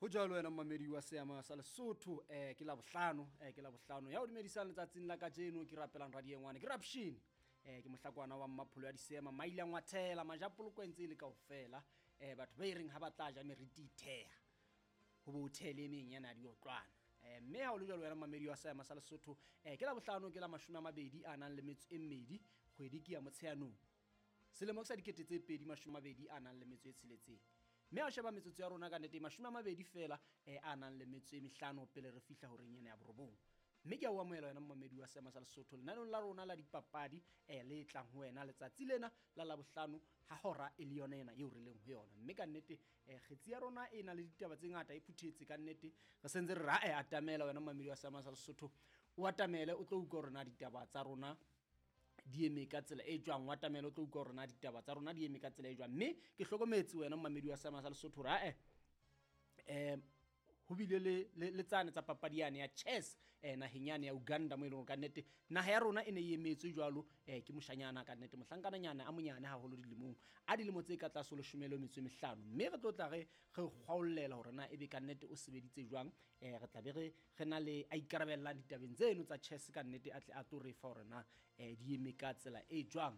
Ho jwalo wena momamedi wa seama sa Lesotho, ke Labohlano, ke Labohlano ya o dumedisang letsatsing la kajeno. Ke rapelang radiengwane, ke Rapshini, ke mohlakwana wa mmapholo ya diseema, maile ngwathela majapoloko e ntse e le kaofela. Batho ba e reng ha ba tla ja meriti itheha ho bo thele e meng yana ya diotlwana. Mme ha o le jwalo wena momamedi wa seama sa Lesotho, ke Labohlano, ke la 22 a nang le metso e mmedi, kgwedi ke ya Motsheanong, selemo ke sa 2026. Mme ha o sheba metsotso ya rona ka nnete 20 feela, a nang le metso e mehlano pele re fihla horeng ena ya borobong. Mme ke a o amohela wena momamedi wa seama sa Lesotho lenaneong la rona la dipapadi, le tlang ho wena letsatsi lena la Labohlano ha hora e le yona ena eo re leng ho yona. Mme ka nnete, kgetsi ya rona e na le ditaba tse ngata, e phuthetse ka nnete. Re sentse re ra e atamela wena momamedi wa seama sa Lesotho, o atamele o tlo utlwa hore na ditaba tsa rona di eme ka tsela e jwang. O atamele o tlo utlwa hore na ditaba tsa rona di eme ka tsela e jwang. Mme ke hlokometse wena momamedi wa seama sa Lesotho hore ae, ho bile le tsane tsa papadi yane ya chess, naheng yane ya Uganda, mo e leng hore ka nnete naha ya rona e ne e emetswe jwalo, ke moshanyana ka nnete, mohlankananyana a monyane haholo dilemong, a dilemo tse ka tlase ho 15. Mme re tlo tla re kgwaollela hore na ebe ka nnete o sebeditse jwang. Re tla be re na le a ikarabellang ditabeng tseno tsa chess ka nnete, a tle a tlo re fa hore na di eme ka tsela e jwang.